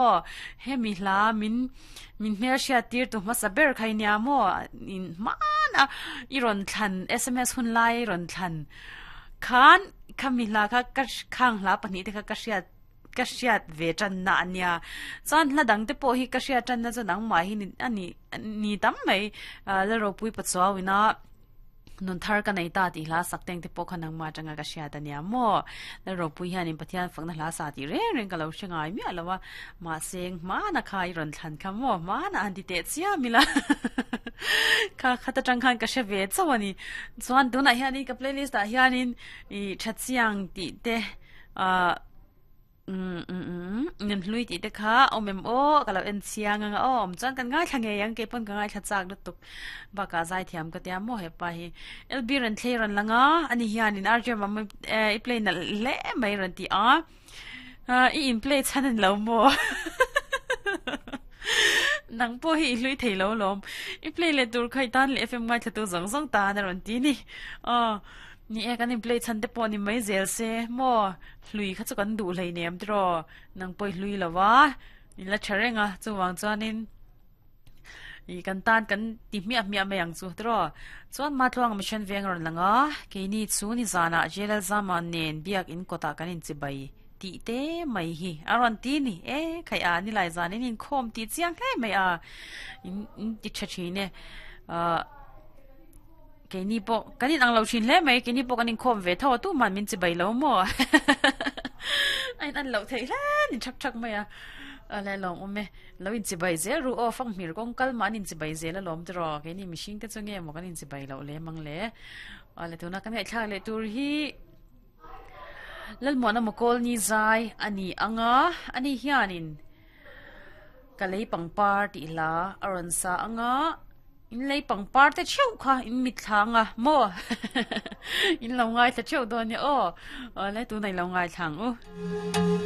Aw, hemi hla min min hmelhriat tir tu hmasa ber kha i nia maw? In hmana i rawn thlan sms hun lai i rawn thlan khan khami hla kha ka khang hla pahnih te kha ka hriat ka hriat ve tanna a nia. Chuan hla dang te pawh hi ka hriat tanna chu nangmah hi a ni ni tam mai Lalropui Pachuauina Nun thar ka nei ta tih hla sak teng te pawh kha nangmah atanga ka hriat a nia maw? Lalropui hianin Pathian fakna hla sa tih reng reng ka lo hre ngai miah lo a, mahse hmana kha i rawn thlan kha maw? Hmana han ti teh chiam ila kha khat atang khan ka hre ve chauh a ni. Chuan tunah hianin ka playlist ah hianin i tha chiang tih te ah Umm umm umm nem hlui tih te kha awm em aw ka lo en chiang anga aw awm chuan kan ngaithla ngei ang keipaw'n ka ngaithla chak lutuk bakah zaithiam ka tia maw hepa hi LB rawn thlei rawn lang a ani hianin RJ Mama i play nalh hle mai rawn ti a i in play chhan a ni lo maw nang pawh hi i hlui thei lo lawm i play leh tur kha i tan leh FM ngaithla tu zawng zawng tan a rawn ti ni aw Ni e, kan in play chhan te pawh ni mai zel se maw? Hlui kha chu kan duh hlei nem tiraw? Nang pawh i hlui lo va, in la tha reng a, chuvang chuanin i kan tan kan ti hmiah hmiah mai ang chu tiraw? Chuan Matluanga Mission Veng a rawn lang a, keini chu nizanah JLL Zama nen biak in kawtah kan inchibai tih te mai hi a rawn ti ni. E, khaih a, nilai zan in inkhawm tih chiang hle mai a, in ti tha thin e. Ahh. Keini pawh kan in ang lo thin hle mai, keini pawh kan inkhawm ve tho a, tuman min chibai lo maw? A in an loh theih hle ni thak thak mai a, a le lawm awm e, lo in chibai zel ru aw, fanghmir kawng kal mah an in chibai zel alawm tiraw, keini mihring te chu nge maw kan in chibai loh lem ang le, a le tuna kan ngaihthlak leh tur hi Lalmuana Mawkawl ni zai a ni ang a, ani hianin Ka lei pangpar tih hla a rawn sa ang a, in lei pangpar te theuh kha in mitthla ang a maw in lo ngaithla theuh dawn nia aw, awle tunah i lo ngaithla ang u.